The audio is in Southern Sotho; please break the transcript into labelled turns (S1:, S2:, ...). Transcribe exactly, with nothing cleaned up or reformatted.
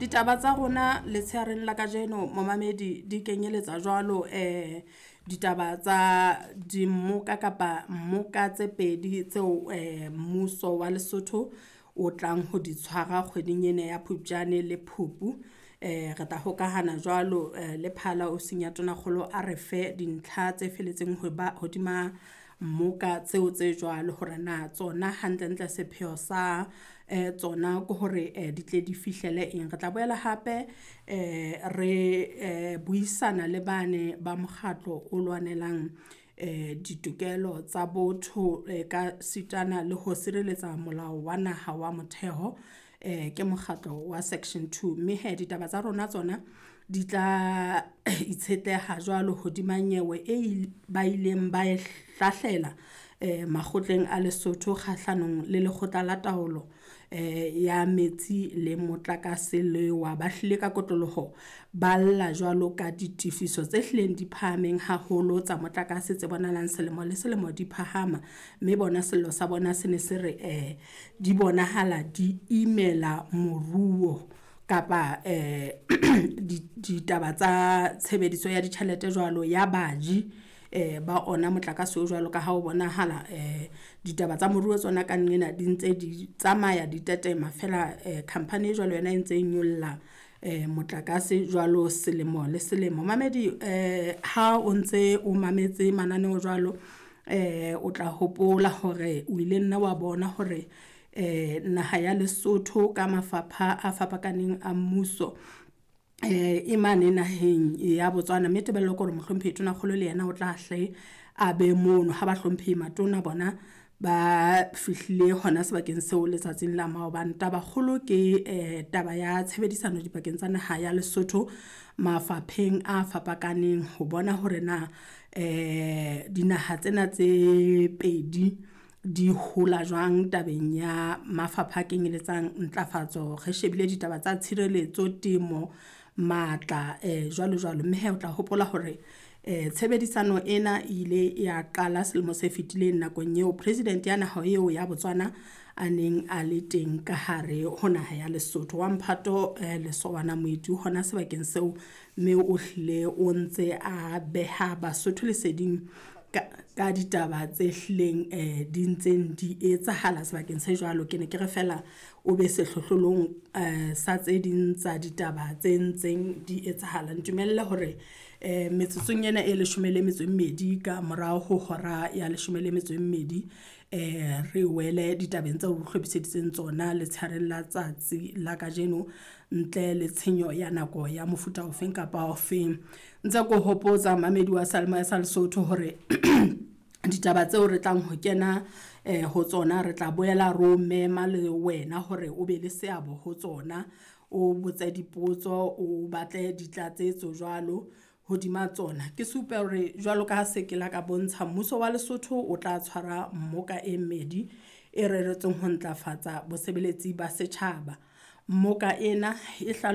S1: Ditaba tsa rona letsheareng la kajeno momamedi di kenyeletsa jwalo eh ditaba tsa dimmoka kapa mmoka tse pedi tseo eh mmuso wa Lesotho o tlang ho di tshwara kgweding ena ya Phupjane le Phupu. Eh re tla hokahana jwalo le phala ofising ya Tonakgolo a re fe dintlha tse felletseng ho ba hodima mmoka tseo tse jwalo hore na tsona hantlentle sepheo sa eh tsona ke hore di tle di fihlele eng. Re tla boela hape eh re buisana le bane ba mokgatlo o lwanelang eh ditokelo tsa botho ka sitana le ho sireletsa molao wa naha wa motheo, eh ke mokgatlo wa Section two. Mme hee ditaba tsa rona tsona di tla itshetleha jwalo hodima nyewe e ba ileng ba e hlahlela eh makgotleng a Lesotho kgahlanong le lekgotla la taolo eh ya metsi le motlakase le wa ba hlile ka kotloloho, ba lla jwalo ka ditifiso tse hlileng di phahameng haholo tsa motlakase tse bonahalang selemo le selemo di phahama. Mme bona sello sa bona se ne se re eh di bonahala di imela moruo kapa eh ditaba tsa tshebediso ya ditjhelete jwalo ya baji eh ba ona motlakase o jwalo ka ha o bonahala eh ditaba tsa moruo tsona ka nqena di ntse di tsamaya di tetema fela eh company e jwalo yona e ntse nyolla eh motlakase jwalo selemo le selemo. Momamedi eh ha o ntse o mametse mananeo jwalo, eh o tla hopola hore o ile nna wa bona hore eh naha ya Lesotho ka mafapha a fapakaneng a mmuso, eh e mane naheng ya Botswana. Mme tebello ke hore Mohlomphehi Tonakgolo le yena o tla hle a be mono ha ba hlomphehi matona bona ba fihlile hona sebakeng seo letsatsing la maobane. Taba kgolo ke eh taba ya tshebedisano dipakeng tsa naha ya Lesotho mafapheng a fapakaneng ho bona hore na eh dinaha tsena tse pedi di hola jwang tabeng ya mafapha a kenyelletsang ntlafatso. Re shebile ditaba tsa tshireletso, temo, matla eh jwalo jwalo. Mme hee o tla hopola hore eh tshebedisano ena e ile ya qala selemo se fetileng nakong eo president ya naha eo ya Botswana a neng a le teng ka hare ho naha ya Lesotho. Wa mphato Lesobana Moeti hona sebakeng seo, mme o hlile o ntse a beha Basotho leseding ka ka ditaba tse hlileng eh di ntseng di etsahala sebakeng se jwalo. Ke ne ke re fela o be sehlohlolong eh sa tse ding tsa ditaba tse ntseng di etsahala. Ntumelle hore eh metsotsong ena e leshome le metso e mmedi ka morao ho hora ya leshome le metso e mmedi, eh re wele ditabeng tseo re hlophiseditseng tsona letsheareng la tsatsi la kajeno ntle le tshenyo ya nako ya mofuta ofeng kapa ofeng. Ntse ko hopotsa momamedi wa seyalemoya sa Lesotho hore ditaba tseo re tlang ho kena eh ho tsona re tla boela ro mema le wena hore o be le seabo ho tsona. O botse dipotso, o batle ditlatsetso jwalo hodima tsona. Ke supe hore jwalo ka ha se ke la ka bontsha mmuso wa Lesotho o tla tshwara mmoka e mmedi e reretsweng ho ntlafatsa bosebeletsi ba setjhaba. Mmoka ena e hlalo.